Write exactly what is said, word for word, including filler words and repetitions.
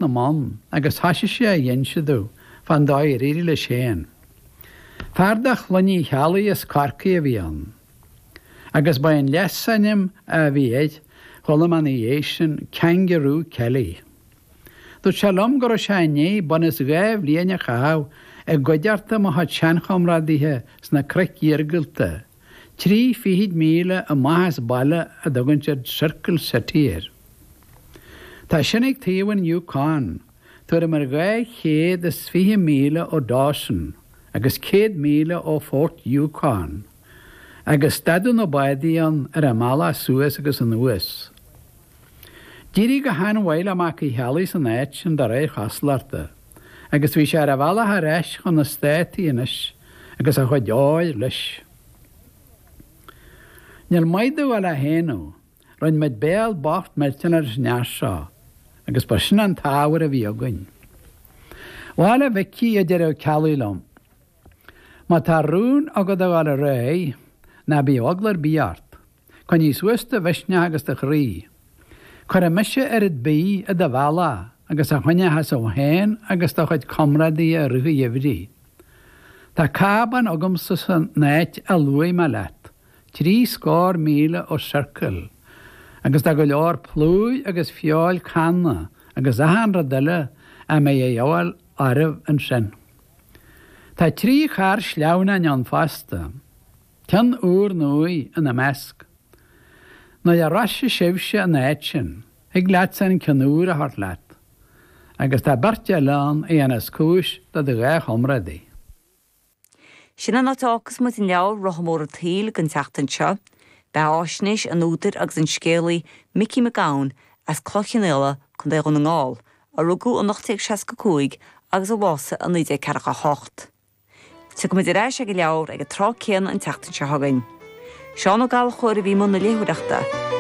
na mbonn agus thoisigh sé a inse domh fán dóigh ar éirigh leis féin. Fear de chlann Uí Cheallaigh as Corcaigh a bhí ann. Agus ba é an leasainm a bhí air, chuala mé ina dhiaidh sin, Kangaroo Kelly. Dúirt sé liom go raibh sé i ndiaidh bun is dhá bhliain a chaitheamh i gcuideachta mo chuid seanchomrádaithe sna cnoic iargúlta, trí fichid míle amach as baile a dtugann siad Circle City air. Tá sin ag taobh an Yukon, tuairim ar dhá chéad is fiche míle ó Dawson agus céad míle ó Fort Yukon, agus stadadh na bádaí ann ar a mbealach suas agus anuas. D'éirigh go han-mhaith le Mac Uí Cheallaigh san áit sin de réir chosúlachta, agus bhí sé ar a bhealach ar ais chun na Státaí anois agus a chuid óir leis. Níor mhaith domh a dhul á shéanadh, rinne muid béal bocht millteanach leis an fhear seo, agus ba sin an t-ábhar a bhí againn. Bhail a Mhicí, a deireadh Ó Ceallaigh liom, má tá rún agat a dhul ar aghaidh, ná bíodh eagla ar bith ort. Coinnigh suas do mhisneach agus do chroí. Cuirfidh mise oiread bídh i do bhealach agus a choinneochas thú féin agus do chuid comrádaithe i rith an gheimhridh. Tá cábán agamsa san áit a luaigh mé leat, trí scór míle ó Circle, agus tá go leor plúir agus feoil canna agus achan rud eile a mbeidh a dhíobháil oraibh ansin. Tá trí charr sleamhnáin ann fosta, ceann úr nuaidh ina measc. Nuair a shroisfidh sibhse an áit sin, thig leatsa an ceann úr a thabhairt leat, agus tá beirt eile ann a dhéanfas cúis do do dhá chomrádaí. Sin an áit a fhágfas muid an leabhar Rotha Mór an tSaoil don tseachtain seo. Beathaisnéis an údair agus an scéalaí Micí Mac Gabhann as Cloich Cheann Fhaola, Contae Dhún na nGall, a rugadh in ocht déag seasca cúig agus a bhásaigh i naoi déag ceathracha a hocht. Tiocfaimid ar ais ag an leabhar ag an tráth céanna an tseachtain seo chugainn. Seán Ó Gallchóir a bhí i mbun na léitheoireachta.